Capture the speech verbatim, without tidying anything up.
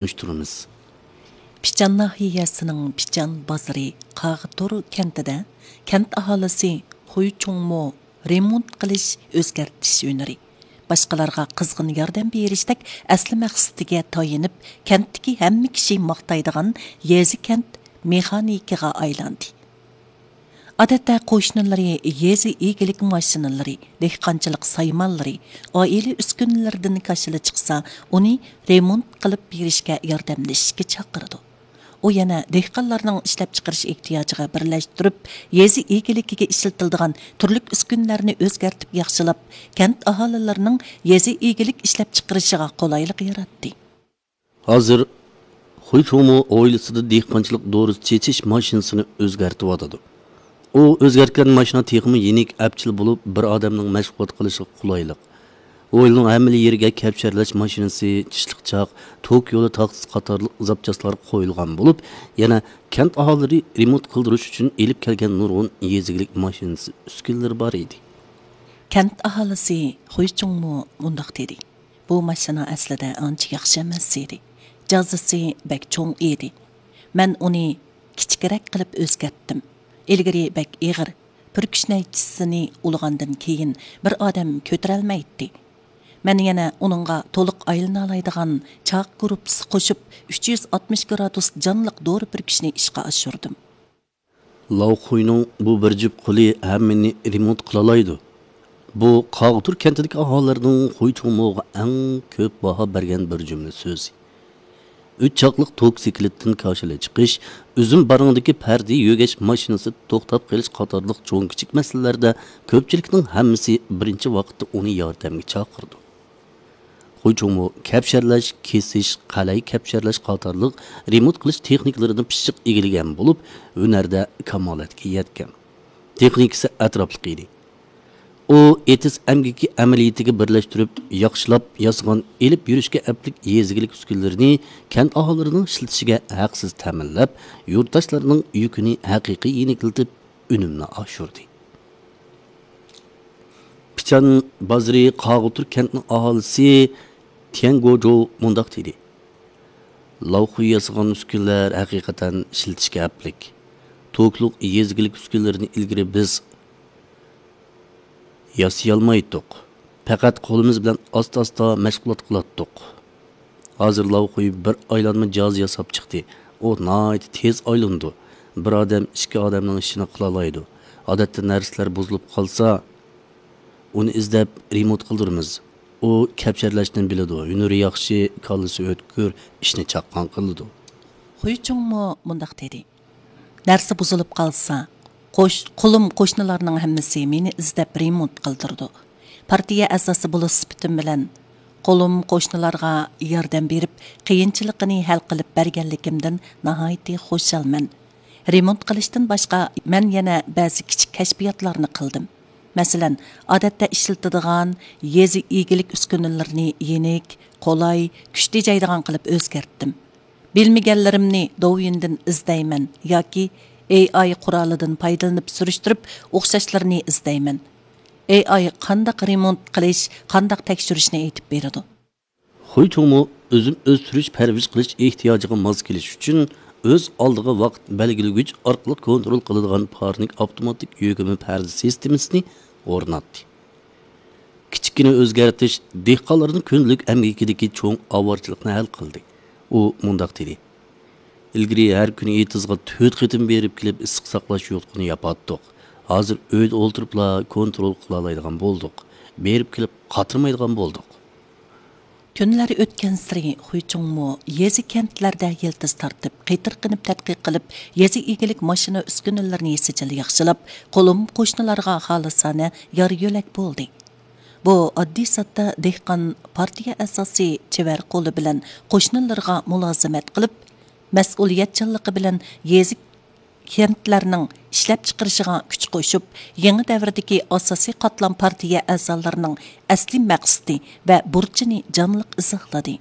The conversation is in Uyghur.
تونۇشتۇرىمىز. پىچان ناھىيەسىنىڭ پىچان بازىرى قاغىتۇر كەنتىدە كەنت ئاھالىسى خۇي چۇڭمو رېمونت قىلىش، ئۆزگەرتىش ھۈنىرى، باشقىلارغا قىزغىن ياردەم بېرىشتەك ئەسلى مەقسىتىگە تايىنىپ، كەنتتىكى ھەممە كىشى ماختايدىغان يېزا كەنت مېخانىكىغا ئايلاندى. ئادەتتە قوشنىلىرى يېزا ئىگىلىك ماشىنىلىرى، دېھقانچىلىق سايمانلىرى، ئائىلە ئۈسكۈنىلىرىدىن كاشىلا چىقسا، ئۇنى رېمونت قىلىپ بېرىشكە ياردەملىشىشكە چاقىرىدۇ. ئۇ يەنە دېھقانلارنىڭ ئىشلەپچىقىرىش ئېھتىياجىغا بىرلەشتۈرۈپ، يېزا ئىگىلىكىگە ئىشلىتىلىدىغان تۈرلۈك ئۈسكۈنىلەرنى ئۆزگەرتىپ ياخشىلاپ، كەنت ئاھالىلىرىنىڭ يېزا ئىگىلىك ئىشلەپچىقىرىشىغا قولايلىق ياراتتى. ھازىر خۇي چۇڭمۇ ھويلىسىدا دېھقانچىلىق دورىسى چېچىش ماشىنىسىنى ئۆزگەرتىۋاتىدۇ. ئۇ ئۆزگەرتكەن ماشىنا تېخىمۇ يېنىك، ئەپچىل بولۇپ، بىر ئادەمنىڭ مەشغۇلات قىلىشىغا قولايلىق. ھويلىنىڭ ھەممىلا يېرىگە كەپشەرلەش ماشىنىسى، چىشلىق چاق، توك يولى تاختىسى قاتارلىق زاپچاسلار قويۇلغان بولۇپ، يەنە كەنت ئاھالىلىرى رېمونت قىلدۇرۇش ئۈچۈن ئېلىپ كەلگەن نۇرغۇن يېزا ئىگىلىك ماشىنىسى، ئۈسكۈنىلىرى بار ئىدى. كەنت ئاھالىسى خۇي چۇڭمۇ مۇنداق دېدى: «بۇ ماشىنا ئەسلىدە ئانچە ياخشى ئەمەس ئىدى. جازىسى بەك چوڭ ئىدى. مەن ئۇنى كىچىكرەك قىلىپ ئۆزگەرتتىم. ئىلگىرى بەك ئېغىر، پۈركۈش نەيچىسىنى ئۇلىغاندىن كېيىن بىر ئادەم كۆتۈرەلمەيتتى. مەن يەنە ئۇنىڭغا تولۇق ئايلىنالايدىغان چاق گۇرۇپپىسى قوشۇپ، ئۈچ يۈز ئاتمىش گرادۇس جانلىق دورا پۈركۈشنى ئىشقا ئاشۇردۇم.» لاۋخۇينىڭ بۇ بىر جۈپ قولى ھەممىنى رېمونت قىلالايدۇ. بۇ قاغىتۇر كەنتىدىكى ئاھالىلەرنىڭ خۇي چۇڭموغا ئەڭ كۆپ باھا بەرگەن بىر جۈملە سۆزى. ئۈچ چاقلىق توك سېكىلىدىن كاشىلا چىقىش، ئۈزۈم بارىڭدىكى پەردە يۆگەش ماشىنىسى توختاپ قېلىش قاتارلىق چوڭ-كىچىك مەسىلىلەردە كۆپچىلىكنىڭ ھەممىسى بىرىنچى ۋاقىتتا ئۇنى ياردەمگە چاقىرىدۇ. خۇي چۇڭمۇ كەپشەرلەش، كېسىش، قەلەي كەپشەرلەش قاتارلىق رېمونت قىلىش تېخنىكىلىرىنى پىششىق ئىگىلىگەن بولۇپ، ھۈنەردە كامالەتكە يەتكەن. تېخنىكىسى ئەتراپلىق ئىدى. ئۇ ئېتىز ئەمگىكى ئەمەلىيىتىگە بىرلەشتۈرۈپ، ياخشىلاپ ياسىغان ئېلىپ يۈرۈشكە ئەپلىك يېزا ئىگىلىك ئۈسكۈنىلىرىنى كەنت ئاھالىلىرىنىڭ ئىشلىتىشىگە ھەقسىز تەمىنلەپ، يۇرتداشلارنىڭ يۈكىنى ھەقىقىي يېنىكلىتىپ، ئۈنۈمنى ئاشۇردى. پىچان بازىرى قاغۇتۇر كەنتنىڭ ئاھالىسى تيەن گوجو مۇنداق دېدى: «لاۋخۇي ياسىغان ئۈسكۈنىلەر ھەقىقەتەن ئىشلىتىشكە ئەپلىك. توكلۇق يېزا ئىگىلىك ئۈسكۈنىلىرىنى ئىلگىرى بىز ياسىيالمايتتۇق. پەقەت قولىمىز بىلەن ئاستا-ئاستا مەشغۇلات قىلاتتۇق. ھازىر لاۋخۇي بىر ئايلانما جاھاز ياساپ چىقتى. ئۇ ناھايىتى تېز ئايلىنىدۇ. بىر ئادەم ئىككى ئادەمنىڭ ئىشىنى قىلالايدۇ. ئادەتتە نەرسىلەر بۇزۇلۇپ قالسا، ئۇنى ئىزدەپ رېمونت قىلدۇرىمىز. ئۇ كەپشەرلەشنى بىلىدۇ، ھۈنىرى ياخشى، كاللىسى ئۆتكۈر، ئىشنى چاققان قىلىدۇ.» خۇي چۇڭمۇ مۇنداق دېدى: «نەرسە بۇزۇلۇپ قالسا، قوش-، قولۇم قوشنىلارنىڭ ھەممىسى مېنى ئىزدەپ رېمونت قىلدۇرىدۇ. پارتىيە ئەزاسى بولۇش سۈپىتىم بىلەن قولۇم قوشنىلارغا ياردەم بېرىپ، قىيىنچىلىقىنى ھەل قىلىپ بەرگەنلىكىمدىن ناھايىتى خۇشالمەن. رېمونت قىلىشتىن باشقا، مەن يەنە بەزى كىچىك كەشپىياتلارنى قىلدىم. مەسىلەن، ئادەتتە ئىشلىتىدىغان يېزا ئىگىلىك ئۈسكۈنىلىرىنى يېنىك، قولاي، كۈچ تېجەيدىغان قىلىپ ئۆزگەرتتىم. بىلمىگەنلىرىمنى دوۋيىندىن ئىزدەيمەن ياكى ئېي ئاي قورالىدىن پايدىلىنىپ سۈرۈشتۈرۈپ ئوخشاشلىرىنى ئىزدەيمەن. ئېي ئاي قانداق رېمونت قىلىش، قانداق تەكشۈرۈشنى ئېيتىپ بېرىدۇ.» خۇي چۇڭمۇ ئۈزۈم ئۆستۈرۈش، پەرۋىش قىلىش ئېھتىياجىغا ماس كېلىش ئۈچۈن ئۆز ئالدىغا ۋاقىت بەلگىلىگۈچ ئارقىلىق كونترول قىلىدىغان پارنىك ئاپتوماتىك يۆگىمە پەردە سىستېمىسىنى ئورناتتى. كىچىككىنە ئۆزگەرتىش دېھقانلارنىڭ كۈندىلىك ئەمگىكىدىكى چوڭ ئاۋارىچىلىقنى ھەل قىلدى. ئۇ مۇنداق دېدى: «ئىلگىرى ھەر كۈنى ئېتىزغا تۆت قېتىم بېرىپ كېلىپ ئىسسىق ساقلاش يوتقىنى ياپاتتۇق. ھازىر ئۆيدە ئولتۇرۇپلا كونترول قىلالايدىغان بولدۇق. بېرىپ كېلىپ قاترىمايدىغان بولدۇق.» كۈنلەر ئۆتكەنسېرى خۇي چۇڭمۇ يېزا كەنتلەردە يىلتىز تارتىپ، قېتىرقىنىپ تەتقىق قىلىپ، يېزا ئىگىلىك ماشىنا ئۈسكۈنىلىرىنى سىجىل ياخشىلاپ، قولۇم قوشنىلارغا خالىسانە يار يۆلەك بولدى. بۇ ئاددىي ساددا دېھقان پارتىيە ئەزاسى چېۋەر قولى بىلەن قوشنىلىرىغا مۇلازىمەت قىلىپ، مەسئۇلىيەتچانلىقى بىلەن يېزا كەنتلەرنىڭ ئىشلەپچىقىرىشىغا كۈچ قوشۇپ، يېڭى دەۋردىكى ئاساسىي قاتلام پارتىيە ئەزالىرىنىڭ ئەسلىي مەقسىتى ۋە بۇرچىنى جانلىق ئىزاھلىدى.